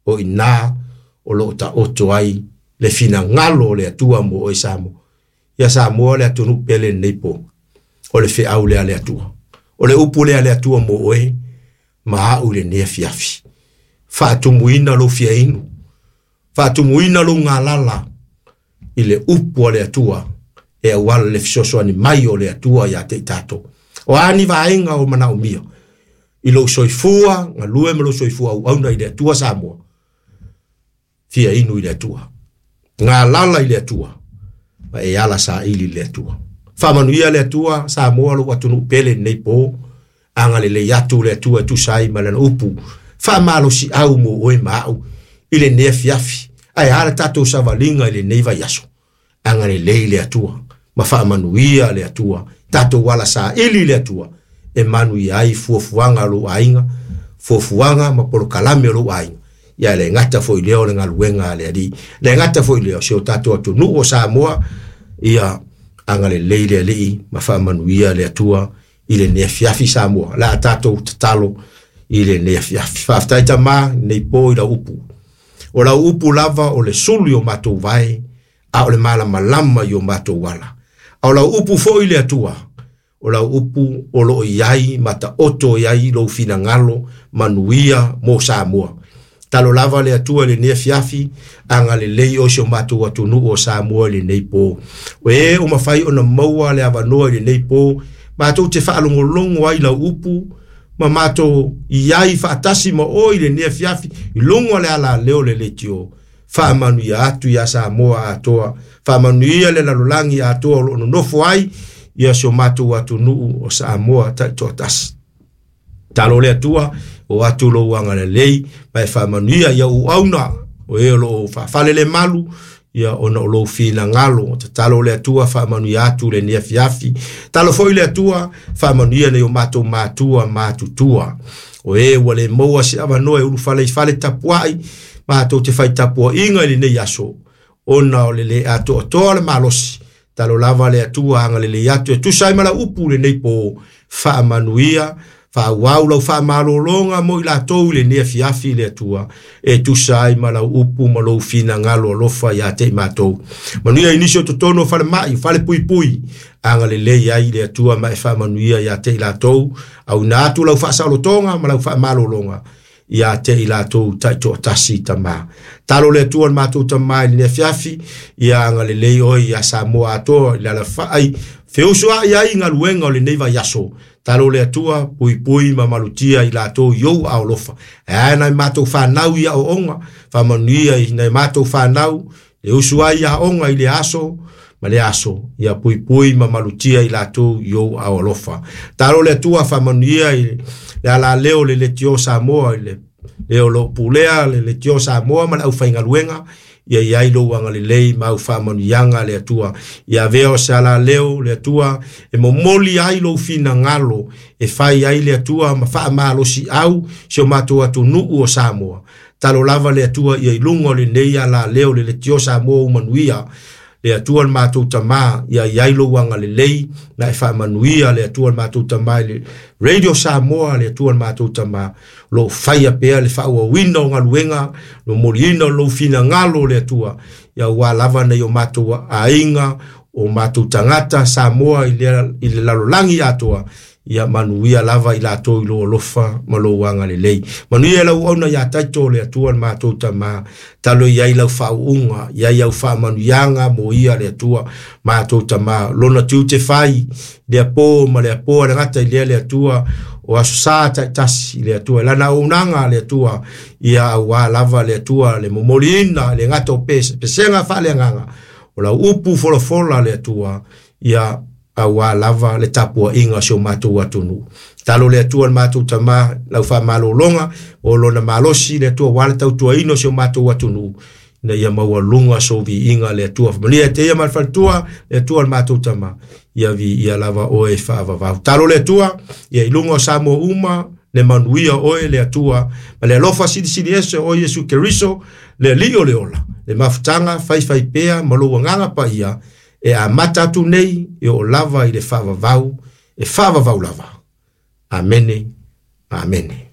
O i ina o lo o taoto ai le finagalo o le Atua mo oe Samoa. Ia Samoa le atunuu pele lenei po. O le feau lea a le Atua. O le upu lea a le Atua mo oe ma au i lenei afiafi. Faatumuina lou fiainu, faatumuina lou galala i le upu a le Atua e auala le fesoasoani mai o le Atua ia te i tatou. O a ni vaega o manaomia i lou soifua galue ma lou soifua auauna i le Atua Samoa, fia inu i le Atua, galala i le Atua, ma e ala saili i le Atua. Faamanuia le Atua Samoa lou atunuu pele lenei po, agalelei atu le Atua e tusa ai ma lana upu, faamalosiau mo oe ma au i lenei afiafi, ae a le tatou savaliga i lenei vaiaso. Agalelei le Atua ma faamanuia le Atua, tatou ala saili i le Atua e manuia ai fuafuaga a lou aiga, fuafuaga ma polokalame o lou aiga. Ia le gata foi lea o le galuega a le Alii, le gata foi lea o si o tatou atunuu o Samoa, ia agalelei le Alii ma faamanuia le Atua i lenei afiafi Samoa. La tatou tatalo i lenei afiafi. Faafetai Tama, nei po i lau upu. O lau upu lava o le sulu i o matou vae, a o le malamalama i o matou ala. A o lau upu foi le Atua, o lau upu o lo o i ai ma taoto i ai lou finagalo manuia mo Samoa. Talo lava le Atua i lenei afiafi, agalelei oe si o matou atunuu o Samoa i lenei po. O e o mafai ona maua le avanoa i lenei po, matou te faalogologo ai lau upu, ma matou i ai faatasi ma oe i lenei afiafi, i luga o le alaleo o le leitio. Faamanuia atu ia Samoa atoa, faamanuia le lalolagi atoa o lo o nonofo ai ia si o matou atunuu o Samoa taitoatasi. Talo le Atua, o atu lou agalelei, ma e faamanuia ia ou auauna, o e o lo o faafalelemalu, ia ona o lou finagalo. Tatalo le Atua, faamanuia atu lenei afiafi. Talo foi le Atua, faamanuia nei o matou matua matutua. O e ua le maua se avanoa e ulufale i fale tapuai, matou te fai tapuaiga i lenei aso, ona o le le atoatoa le malosi. Talo lava le Atua agalelei atu e tusa ai ma lau upu lenei po, faamanuia, faaauau lau faamalologa mo i latou i lenei afiafi le Atua, e tusa ai ma lau upu ma lou finagalo alofa ia te i matou. Manuia i nisi o totonu o falemai, o falepuipui, agalelei ai le Atua ma e faamanuia ia te i latou, auina atu lau faasaolotoga ma lau faamalologa ia te i latou taitoatasi Tama. Talo le Atua le matou Tama i lenei afiafi, ia agalelei oe ia Samoa atoa i le alafai, feusuai ai galuega o lenei vaiaso. Talo le Atua, puipui ma malutia i latou i ou aolofa. E ae nai matou whanau i aoaoga, faamanuia i nai matou whanau, le usu ai i aoga i le aso, ma le aso, ia puipui ma malutia i latou i ou aolofa. Talo le Atua, faamanuia i le alaleo le leitio Samoa, i le leo lo pulea le leitio Samoa ma le aufaigaluega, ia i ai lou agalelei ma au faamanuiaga le Atua. Ia avea o se alaleo le Atua e momoli ai lou finagalo, e fai ai le Atua ma faamalosiau si o matou atunuu o Samoa. Talo lava le Atua ia i luga o lenei alaleo le leitio Samoa ua manuia. Le Atua le matou Tama, ia i ai lou agalelei, na e faamanuia le Atua le matou Tama i le Radio Samoa, le Atua le matou Tama, lo faia pea le faaauauina o galuega, momoliina o lou finagalo le Atua, ia ua lava nei o matou aiga, o matou tagata Samoa i le lalolagi atoa, ia manuia lava i latou i lou alofa ma lou agalelei. Manuia lau auauna ia Taito le Atua le matou Tama, talo i ai lau faauuga, i ai au faamanuiaga mo ia le Atua matou Tama. Lona tiute fai, le apo ma le apo le gata i lea le Atua, o aso sa taitasi le Atua, lana auaunaga le Atua, ia auā lava le Atua le momoliina le gata o pesega faaleagaga, o lau upu folafola le Atua, ia auā lava le tapuaiga o si o matou atunuu. Talo le Atua le matou Tama, lau faamalologa, o lona malosi le Atua, ua le tautuaina o si o matou atunuu, ina ia maualuga sou viiga le Atua. Faamanuia te ia ma le faletua, le Atua le matou Tama, ia viia lava oe faavavau. Talo le Atua, ia i luga o Samoa uma, le manuia oe le Atua, ma le alofa silisili ese o Iesu Keriso, le Alii o le ola, le mafutaga faifai pea ma lou agaga paia, e amata atu nei e oo lava i le faavavau, e faavavau lava. Amene, amene.